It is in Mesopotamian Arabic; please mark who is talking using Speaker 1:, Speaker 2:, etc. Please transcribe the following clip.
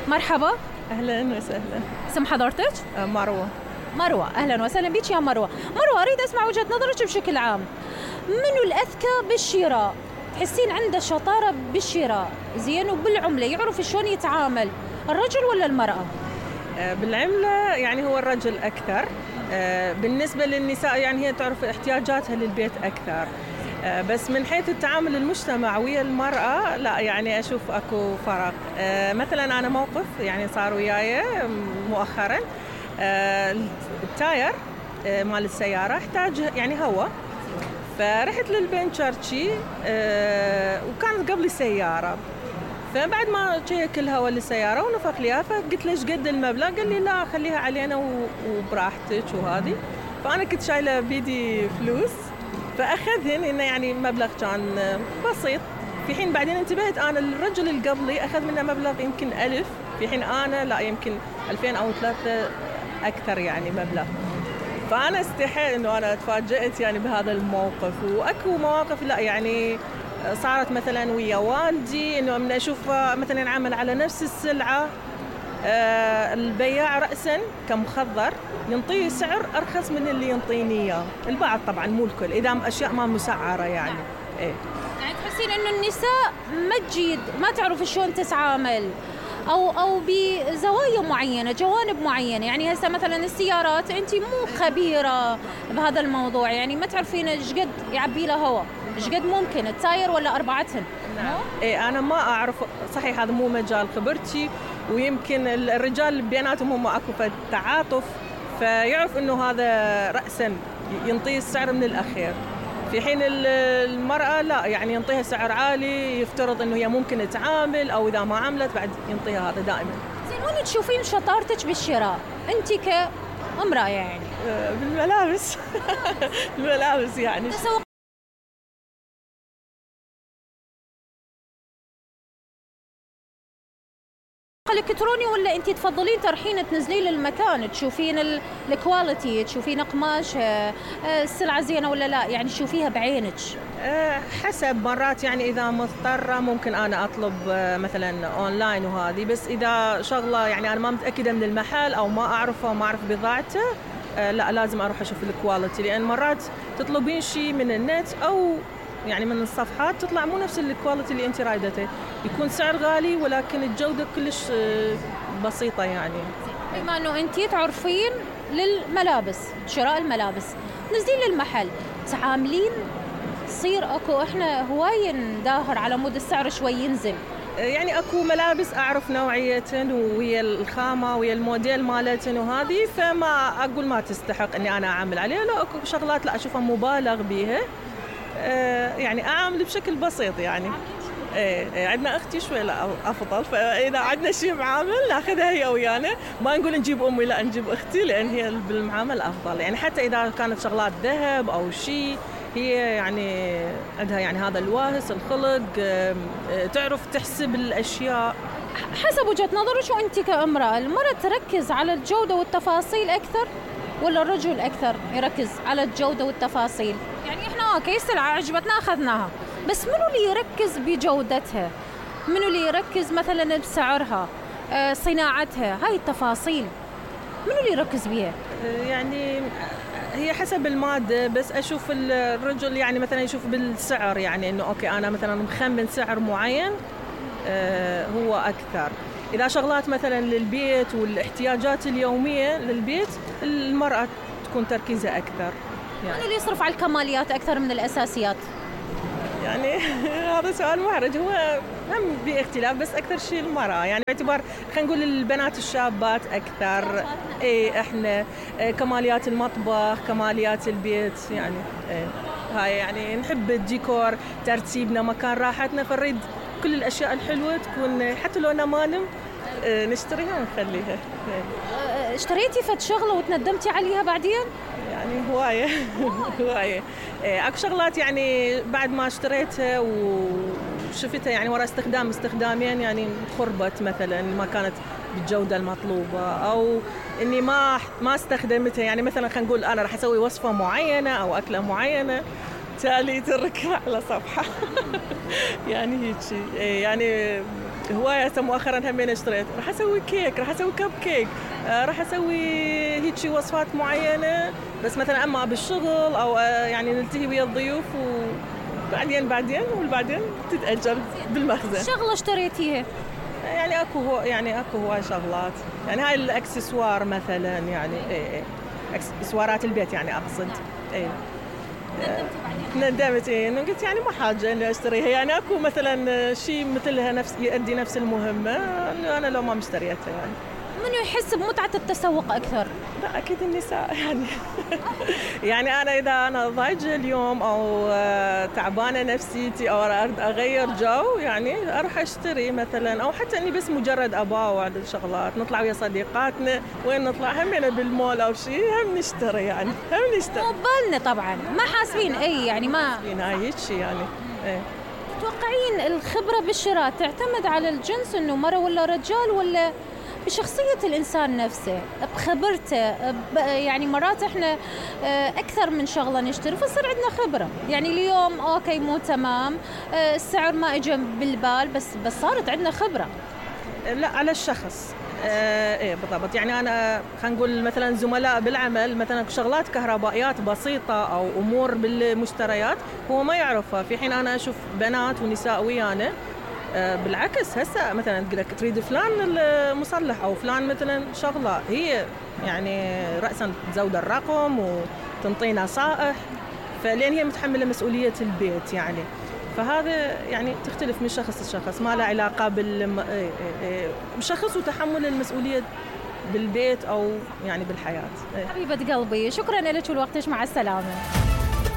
Speaker 1: مرحبا.
Speaker 2: أهلا وسهلا.
Speaker 1: اسم حضرتك؟
Speaker 2: مروة.
Speaker 1: مروة، أهلا وسهلا بك يا مروة. مروة، أريد أسمع وجهة نظرك بشكل عام. منو الأذكى بالشراء؟ تحسين عنده شطارة بالشراء زين وبالعملة يعرف شلون يتعامل، الرجل ولا المرأة؟
Speaker 2: بالعملة يعني هو الرجل أكثر. بالنسبة للنساء يعني هي تعرف احتياجاتها للبيت أكثر. بس من حيث التعامل المجتمع ويا المرأة لا، يعني أشوف أكو فرق. مثلا أنا موقف يعني صار وياي مؤخرا. التاير مال السيارة احتاج يعني هوا، فرحت للبنشرشي وكانت قبلي سيارة، فبعد ما شيك الهواء للسيارة ونفخ ليها فقلت له ايش قد المبلغ؟ قال لي لا خليها علينا وبراحتك وهذه. فأنا كنت شايلة بيدي فلوس فأخذهن، إنه يعني مبلغ كان بسيط، في حين بعدين انتبهت أنا الرجل اللي قبلي أخذ منه مبلغ يمكن 1000، في حين أنا لا يمكن 2000 أو 3 أكثر يعني مبلغ. فأنا استحيت إنه أنا تفاجأت يعني بهذا الموقف. وأكو مواقف لا يعني صارت مثلا ويا والدي، إنه من أشوف مثلا ينعمل على نفس السلعة البياع رأسا كمخضر ينطيه سعر أرخص من اللي ينطيني إياه. البعض طبعا مو الكل، إذا أشياء ما مسعرة يعني. إيه.
Speaker 1: يعني تحسين إنه النساء ما تجيد ما تعرف شلون تتعامل أو بزوايا معينة، جوانب معينة. يعني هسه مثلا السيارات أنت مو خبيرة بهذا الموضوع، يعني ما تعرفين إيش قد يعبي له هواء، إيش قد ممكن التاير ولا أربعتهن.
Speaker 2: نعم. إيه أنا ما أعرف صحيح، هذا مو مجال خبرتي، ويمكن الرجال بيناتهم هم أكو تعاطف فيعرف إنه هذا رأسا ينطيه السعر من الأخير، في حين المرأة لا يعني ينطيها سعر عالي، يفترض إنه هي ممكن تعامل أو إذا ما عملت بعد ينطيها هذا دائما.
Speaker 1: زين، وين تشوفين شطارتك بالشراء أنت كامرأة يعني؟
Speaker 2: بالملابس. الملابس يعني
Speaker 1: الكتروني، ولا انت تفضلين تروحين تنزلين للمكان تشوفين الكواليتي، تشوفين قماش السلعه زينه ولا لا، يعني تشوفيها بعينك؟
Speaker 2: حسب، مرات يعني اذا مضطره ممكن انا اطلب مثلا اونلاين وهذه، بس اذا شغله يعني انا ما متاكده من المحل او ما اعرفه وما اعرف بضاعته لا لازم اروح اشوف الكواليتي، لان مرات تطلبين شيء من النت او يعني من الصفحات تطلع مو نفس الكواليتي اللي انت رايدته، يكون سعر غالي ولكن الجودة كلش بسيطة يعني.
Speaker 1: بما انه انت تعرفين للملابس، شراء الملابس، نزلين للمحل تعاملين، تصير اكو احنا هواي نداهر على مود السعر شوي ينزل.
Speaker 2: يعني اكو ملابس اعرف نوعيتهن ويا الخامة ويا الموديل مالتهن وهذه، فما اقول ما تستحق اني انا اعامل عليها. لا اكو شغلات لا اشوفها مبالغ بيها، يعني أعمل بشكل بسيط يعني. عندنا أختي شوي لا أفضل، فإذا عندنا شيء معامل ناخذها هي ويانا، ما نقول نجيب أمي لا نجيب أختي، لأن هي بالمعامل أفضل يعني. حتى إذا كانت شغلات ذهب أو شيء هي يعني عندها يعني هذا الواهس الخلق، تعرف تحسب الأشياء
Speaker 1: حسب وجهة نظرك. وأنت كامرأة، المرأة تركز على الجودة والتفاصيل أكثر ولا الرجل أكثر يركز على الجودة والتفاصيل؟ يعني إحنا أوكي سلعة عجبتنا أخذناها، بس منو اللي يركز بجودتها؟ منو اللي يركز مثلا بسعرها، صناعتها، هاي التفاصيل منو اللي يركز بيها؟
Speaker 2: يعني هي حسب المادة، بس أشوف الرجل يعني مثلا يشوف بالسعر، يعني إنه أوكي أنا مثلا مخمن سعر معين هو أكثر. إذا شغلات مثلا للبيت والاحتياجات اليومية للبيت المرأة تكون تركيزها أكثر
Speaker 1: يعني. من اللي يصرف على الكماليات أكثر من الأساسيات؟
Speaker 2: يعني هذا سؤال محرج، هو هم باختلاف بس أكثر شيء المرأة، يعني باعتبار خلينا نقول البنات الشابات أكثر. إيه إحنا كماليات المطبخ، كماليات البيت يعني. إيه هاي يعني نحب الديكور، ترتيبنا، مكان راحتنا، فنريد كل الأشياء الحلوة تكون حتى لو أنا ما نشتريها ونخليها.
Speaker 1: اشتريتي فد شغلة وتندمتي عليها بعدين؟
Speaker 2: يعني هواية. هواية. أكو شغلات يعني بعد ما اشتريتها وشفتها يعني وراء استخدامين يعني خربت مثلا، ما كانت بالجودة المطلوبة، أو إني ما استخدمتها. يعني مثلا خلينا نقول أنا راح أسوي وصفة معينة أو أكلة معينة، تالي تركها على صفحة. يعني هيك يعني هواية هسه مؤخرا همين اشتريت، راح اسوي كيك، راح اسوي كب كيك، راح اسوي هيك وصفات معينة، بس مثلا اما بالشغل او يعني نلتهي ويا الضيوف وبعدين تتأجل بالمخزن.
Speaker 1: شغلة اشتريتيها؟
Speaker 2: يعني اكو هواي شغلات، يعني هاي الاكسسوار مثلا، يعني اكسسوارات البيت يعني اقصد. ندمت انه قلت يعني ما حاجه اني اشتريها، يعني اكو مثلا شيء مثلها نفس يؤدي نفس المهمه، انا لو ما مشتريتها يعني.
Speaker 1: منو يحس بمتعة التسوق أكثر؟
Speaker 2: لا أكيد النساء يعني. يعني إذا أنا ضايجة اليوم أو تعبانة نفسيتي أو أريد أغير جو، يعني أروح أشتري مثلا، أو حتى إني بس مجرد أباوع الشغلات، نطلع ويا صديقاتنا، وين نطلع همنا بالمول أو شيء، هم نشتري يعني، هم نشتري.
Speaker 1: مو ببالنا طبعا، ما حاسبين يعني ما
Speaker 2: حاسبين هاي هيك شيء يعني.
Speaker 1: تتوقعين الخبرة بالشراء تعتمد على الجنس، إنه مرة ولا رجال، ولا بشخصية الإنسان نفسه، بخبرته؟ يعني مرات إحنا أكثر من شغلة نشتري فصير عندنا خبرة، يعني اليوم أوكي مو تمام، السعر ما إجا بالبال، بس صارت عندنا خبرة.
Speaker 2: لا، على الشخص. بالضبط. يعني أنا خلينا نقول مثلا زملاء بالعمل، مثلا شغلات كهربائيات بسيطة أو أمور بالمشتريات هو ما يعرفها، في حين أنا أشوف بنات ونساء ويانا بالعكس، هسه مثلا تقول لك تريد فلان المصلح او فلان مثلا شغله، هي يعني راسا تزود الرقم وتنطينا صائح، فلين هي متحمله مسؤوليه البيت يعني. فهذا يعني تختلف من شخص لشخص، ما له علاقه بالشخص وتحمل المسؤوليه بالبيت او يعني بالحياه.
Speaker 1: حبيبه قلبي، شكرا لك ولوقتك، مع السلامه.